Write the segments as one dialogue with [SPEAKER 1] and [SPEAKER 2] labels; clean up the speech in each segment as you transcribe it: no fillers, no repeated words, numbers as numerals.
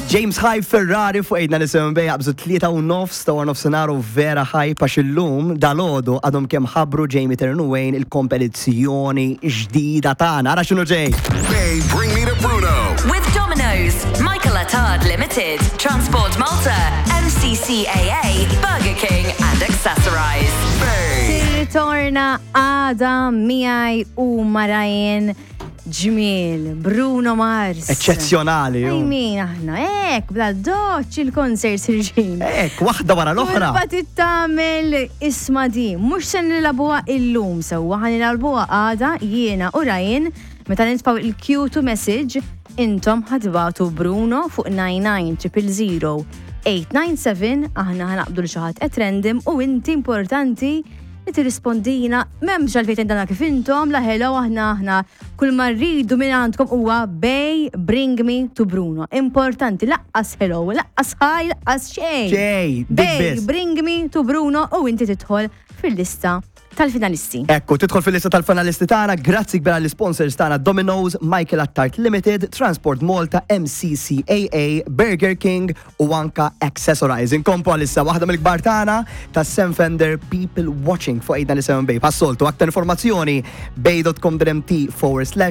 [SPEAKER 1] James Hype Ferrari fuq 897 Bay jaqbżu 3:30 ta' wara nofsinhar u vera hype għax illum dalgħodu għadhom kemm ħabbru Jamie Turner u Wayne il-kompetizzjoni ġdida tagħna. Ara x'inhu ġej!
[SPEAKER 2] Bay Bring Me to Bruno.
[SPEAKER 3] With Domino's, Michael Attard Limited, Transport Malta, MCCAA, Burger King and Accessorize.
[SPEAKER 2] Bay.
[SPEAKER 4] Tirritorna għada miegħi u ma' Ryan Ġmiel, Bruno Mars.
[SPEAKER 1] Eċċezzjonali.
[SPEAKER 4] I mean, aħna, ek, bla doċ il-concerts irġin.
[SPEAKER 1] Ek, waħda wara l-oħra.
[SPEAKER 4] Kulma tittamel isma di, mux se nilabuha illum sewwa, ħa nilabuha għada jiena u Ryan, meta nitfaw il-Q2 message, intom ħa tibagħtu Bruno fuq 99 897, aħna ħa naqbdu lil xi ħadd at random u inti importanti li tirrispondina, m'hemmx għalfejn tgħidilna kif intom, la hello aħna aħna kull ma rridu minn għandkom huwa Bay Bring Me to Bruno. Importanti, laqqas hello, laqqas hi, laqqas xejn.
[SPEAKER 1] Xejn, dik
[SPEAKER 4] Bay
[SPEAKER 1] biss.
[SPEAKER 4] Bring Me to Bruno u inti tidħol fil-lista tal-finalisti.
[SPEAKER 1] Ekku, tidħol fil-lista tal-finalisti tagħna, grazzi kbira l-sponsors tagħna Domino's, Michael Attard Limited, Transport Malta, MCCAA, Burger King u anka Accessorize. Inkomplu għalissa waħda mill-kbar tagħna ta' Sam Fender People Watching fuq 897 Bay. Bħas-soltu, aktar informazzjoni bay.com.mt/.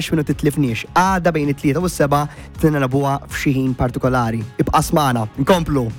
[SPEAKER 1] minu titlifniex. Għada bejn it-3 u s-7 tinelabuha f'xi ħin partikolari. Ibqa' smana. Nkomplu.